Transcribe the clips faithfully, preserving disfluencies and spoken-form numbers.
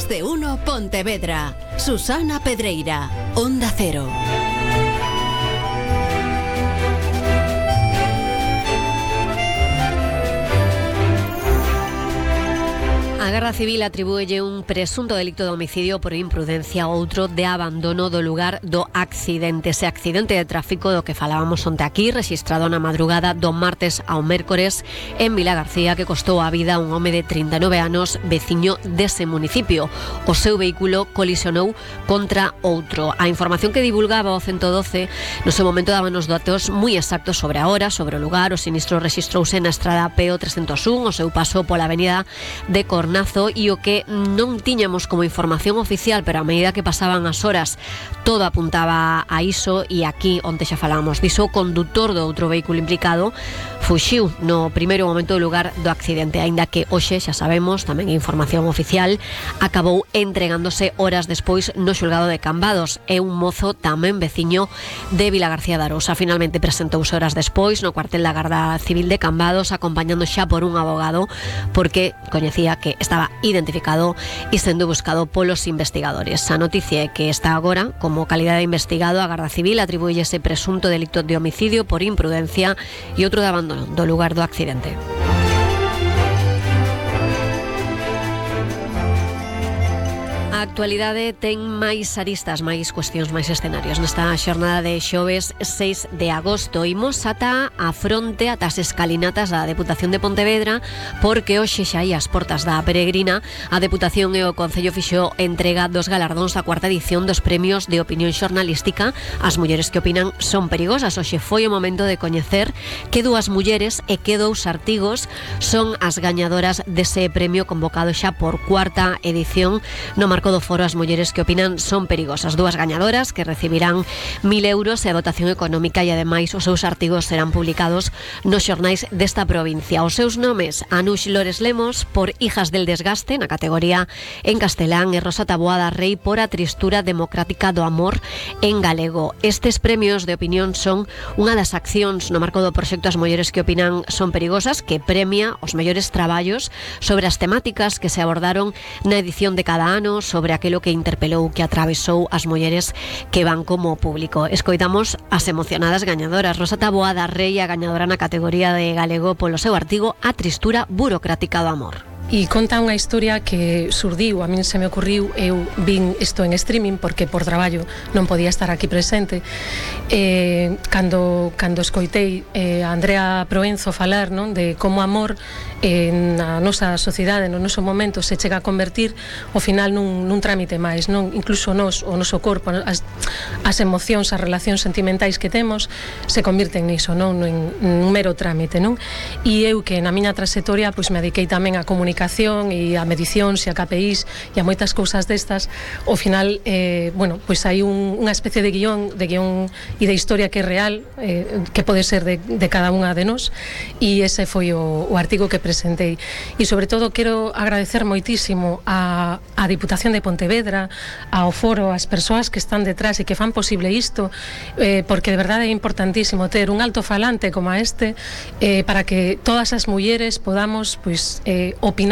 de uno Pontevedra. Susana Pedreira, Onda Cero. A Garda Civil atribúelle un presunto delito de homicidio por imprudencia a outro de abandono do lugar do accidente. Ese accidente de tráfico do que falábamos onte aquí, registrado na madrugada do martes ao mércores en Vilagarcía, que costou a vida a un home de trinta e nove anos, veciño dese municipio. O seu vehículo colisionou contra outro. A información que divulgaba o ciento doce no seu momento daban os datos moi exactos sobre a hora, sobre o lugar. O sinistro rexistrouse na estrada P O trescentos un, o seu paso pola avenida de Cornazo, e o que non tiñamos como información oficial, pero a medida que pasaban as horas todo apuntaba a iso, e aquí onte xa falábamos diso, o condutor do outro vehículo implicado fuxiu no primeiro momento do lugar do accidente, aínda que hoxe xa sabemos, tamén información oficial, acabou entregándose horas despois no xulgado de Cambados. É un mozo tamén veciño de Vilagarcía de Arousa. Finalmente presentouse horas despois no cuartel da Garda Civil de Cambados, acompañando xa por un abogado, porque coñecía que estaba identificado e sendo buscado polos investigadores. A noticia é que está agora, como calidad de investigado, a Garda Civil atribuye ese presunto delito de homicidio por imprudencia e outro de abandono do lugar do accidente. A actualidade ten máis aristas, máis cuestións, máis escenarios nesta xornada de xoves seis de agosto. Imos ata a fronte, ata as escalinatas da Deputación de Pontevedra, porque hoxe xa hai as portas da peregrina. A Deputación e o Concello fixo entrega dos galardóns da cuarta edición dos premios de opinión xornalística. As mulleres que opinan son perigosas. Hoxe foi o momento de coñecer que dúas mulleres e que dous artigos son as gañadoras dese premio convocado xa por cuarta edición no marco do foro As mulleres que opinan son perigosas. Dúas gañadoras que recibirán mil euros e a dotación económica, e ademais os seus artigos serán publicados nos xornais desta provincia. Os seus nomes: Anush Lores Lemos por Hijas del Desgaste, na categoría en castelán, e Rosa Taboada Rei por A tristura democrática do amor, en galego. Estes premios de opinión son unha das accións no marco do proxecto As mulleres que opinan son perigosas, que premia os mellores traballos sobre as temáticas que se abordaron na edición de cada ano, sobre aquilo que interpelou, que atravesou as mulleres que van como público. Escoitamos as emocionadas gañadoras. Rosa Taboada Rei, a gañadora na categoría de galego polo seu artigo A tristura burocrática do amor. E conta unha historia que surdiu, a min se me ocurriu, eu vin isto en streaming porque por traballo non podía estar aquí presente. Eh, cando, cando escoitei eh, a Andrea Proenzo falar, non, de como amor eh, na nosa sociedade, no noso momento, se chega a convertir ao final nun, nun trámite máis, non? Incluso nos, o noso corpo, as, as emocións, as relacións sentimentais que temos se convirten niso, non? En un mero trámite, non? E eu que na miña trayectoria pois me dediquei tamén a comunicar e a medicións e a K P Is e a moitas cousas destas, ao final eh, bueno, pois hai un, unha especie de guión de guión e de historia que é real, eh, que pode ser de, de cada unha de nós, e ese foi o, o artigo que presentei. E sobre todo quero agradecer moitísimo a, a Diputación de Pontevedra, ao foro, as persoas que están detrás e que fan posible isto, eh, porque de verdade é importantísimo ter un altofalante como este, eh, para que todas as mulleres podamos pois eh, opinar.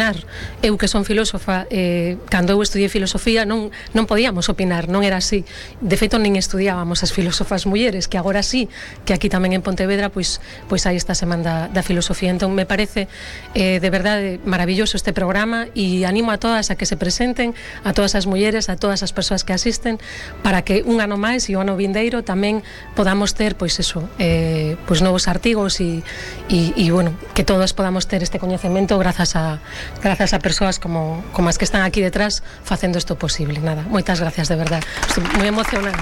Eu que son filósofa, eh, cando eu estudiei filosofía non, non podíamos opinar, non era así. De feito, nin estudiábamos as filósofas mulleres, que agora sí, que aquí tamén en Pontevedra pois, pois hai esta semana da, da filosofía. Entón me parece eh, de verdade maravilloso este programa, e animo a todas a que se presenten, a todas as mulleres, a todas as persoas que asisten, para que un ano máis e o ano vindeiro tamén podamos ter pois eso, eh, pois novos artigos e, e, e bueno, que todos podamos ter este coñecemento grazas a grazas a persoas como, como as que están aquí detrás facendo isto posible. Nada, moitas gracias, de verdade. Estou moi emocionada.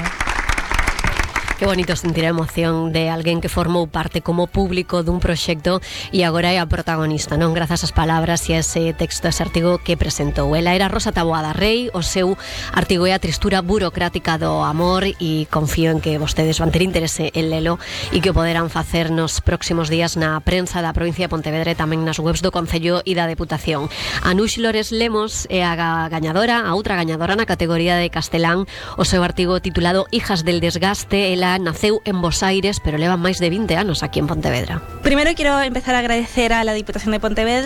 Que bonito sentir a emoción de alguén que formou parte como público dun proxecto e agora é a protagonista, non? Grazas ás palabras e a ese texto, ese artigo que presentou. Ela era Rosa Taboada Rei, o seu artigo é A tristura burocrática do amor, e confío en que vostedes van ter interese en lelo e que o poderán facer nos próximos días na prensa da provincia de Pontevedra e tamén nas webs do Concello e da Deputación. Anush Lores Lemos é a gañadora, a outra gañadora na categoría de castelán. O seu artigo titulado Hijas del Desgaste, ela naceu en Bos Aires, pero leva máis de vinte anos aquí en Pontevedra. Primero quiero empezar a agradecer a la Diputación de Pontevedra